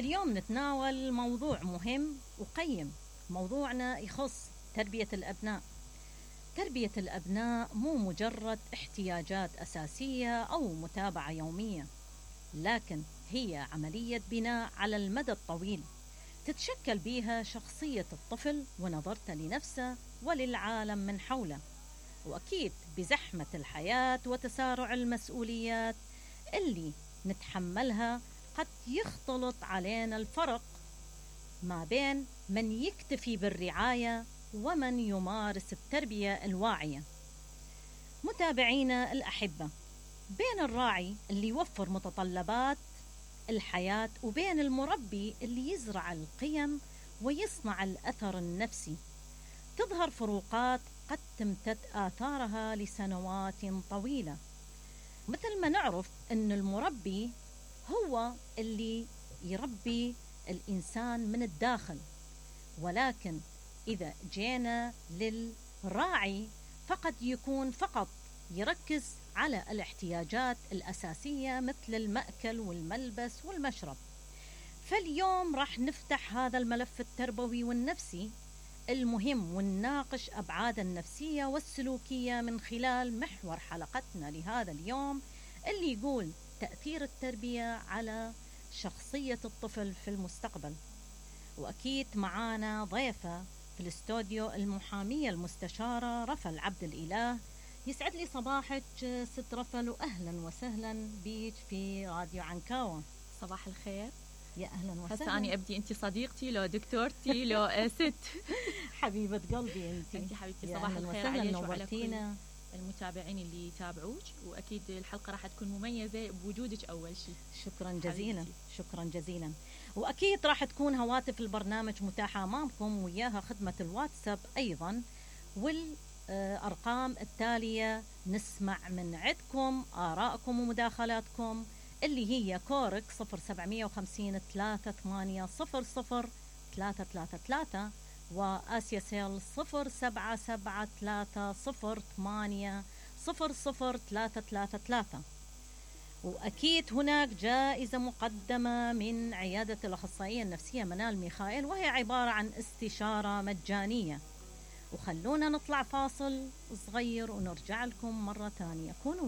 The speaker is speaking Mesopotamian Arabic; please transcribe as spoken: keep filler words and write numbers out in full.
اليوم نتناول موضوع مهم وقيم. موضوعنا يخص تربية الأبناء. تربية الأبناء مو مجرد احتياجات أساسية أو متابعة يومية، لكن هي عملية بناء على المدى الطويل تتشكل بها شخصية الطفل ونظرته لنفسه وللعالم من حوله. وأكيد بزحمة الحياة وتسارع المسؤوليات اللي نتحملها قد يختلط علينا الفرق ما بين من يكتفي بالرعاية ومن يمارس التربية الواعية. متابعينا الأحبة، بين الراعي اللي يوفر متطلبات الحياة وبين المربي اللي يزرع القيم ويصنع الأثر النفسي تظهر فروقات قد تمتد آثارها لسنوات طويلة. مثل ما نعرف أن المربي هو اللي يربي الإنسان من الداخل، ولكن إذا جينا للراعي فقد يكون فقط يركز على الاحتياجات الأساسية مثل المأكل والملبس والمشرب. فاليوم راح نفتح هذا الملف التربوي والنفسي المهم ونناقش أبعاد النفسية والسلوكية من خلال محور حلقتنا لهذا اليوم اللي يقول تأثير التربية على شخصية الطفل في المستقبل. وأكيد معانا ضيفة في الاستوديو المحامية المستشارة رفل عبد الإله. يسعد لي صباحك ست رفل، وأهلا وسهلا بيك في راديو عنكاوة. صباح الخير. يا أهلا وسهلا. هسه أنا أبدي أنت صديقتي لو دكتورتي لو ست. حبيبة قلبي أنت. أنت حبيبتي صباح الخير عليك وعلى كل المتابعين اللي يتابعوك، وأكيد الحلقة راح تكون مميزة بوجودك أول شيء. شكرا جزيلا. شكرا جزيلا. وأكيد راح تكون هواتف البرنامج متاحة أمامكم، وياها خدمة الواتساب أيضا، والأرقام التالية نسمع من عندكم آراءكم ومداخلاتكم اللي هي كورك صفر سبعمية وخمسين ثلاثة ثمانية صفر صفر ثلاثة ثلاثة ثلاثة، وآسيا سيل صفر سبعة سبعة ثلاثة صفر ثمانية صفر صفر ثلاثة ثلاثة ثلاثة. وأكيد هناك جائزة مقدمة من عيادة الأخصائية النفسية منال ميخائيل، وهي عبارة عن استشارة مجانية. وخلونا نطلع فاصل صغير ونرجع لكم مرة ثانية. كونوا